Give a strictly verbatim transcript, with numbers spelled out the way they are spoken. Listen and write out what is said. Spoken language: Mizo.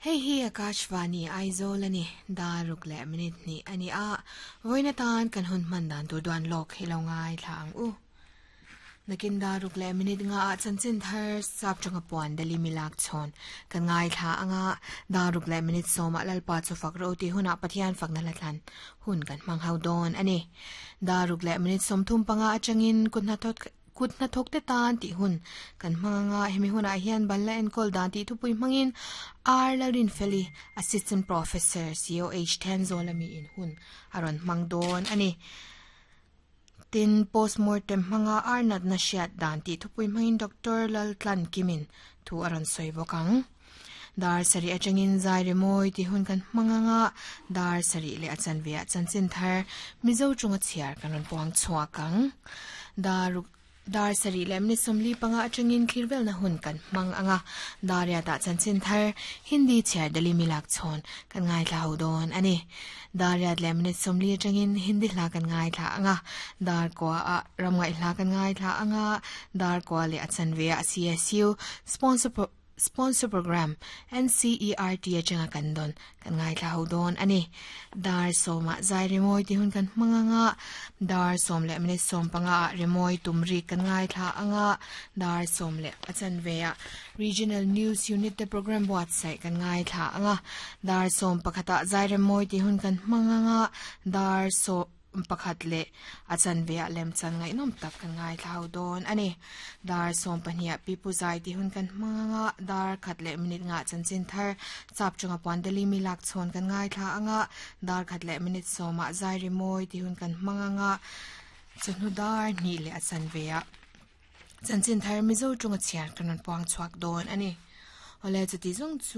Hei hi Akashvani Aizawl ani daruk leh minute ni ani a voina tan kan hun man dan tur duan lok hi lo ngai thla ang u nakin daruk leh minute nga a chanchin thar sap changa puan dali milak chon kan ngai thla anga daruk leh minute soma lalpa chu fak ro ti huna pathian fakna latlan hun kan mang hau don ani daruk leh minute som thum panga atangin kunna thot kutna thok te tan ti hun kan hmanga hemi huna hian balla en kol dan ti thupui hmangin R Larin Feli assistant professor C O H ten zolami in hun aron hmang don ani tin postmortem hmanga arnat na shiat dan ti thupui hmangin Doctor Laltlan Kimin thu aron soi bokang dar sari atangin zai remoi ti hun kan hmanga dar sari le achan via chanchin thar mizo chunga chiar kanon puang chuakang dar dar sari lemni somli panga atangin khirvel na hun kan mang anga daria ta chanchin thar hindi chiar dali milak chon kan ngai thla ho don ani daria lemni somli atangin hindi hla kan ngai thla anga dar kwa a ramngai hla kan ngai thla anga dar kwa le achan ve a C S U sponsor sponsor program N C E R T achanga kan don kan ngai thla ho don ani dar soma zai remoi ti hun kan manganga dar som le minute som panga remoi tumri kan ngai thla anga dar som le achan veya regional news unit te program website kan ngai thla anga dar som pakhata zai remoi ti hun kan manganga dar so pakhat le achan vea lem chan ngai nom tak kan ngai thlau don ani dar som pahnia pipu zai ti hun kan manga dar khat le minute nga chanchin thar chap chunga pondeli mi lak chon kan ngai thla anga dar khat le minute soma zai rimoi ti hun kan manga chunu dar ni le achan vea chanchin thar mizo chunga chiar kanon puang chuak don ani ole chuti zong chu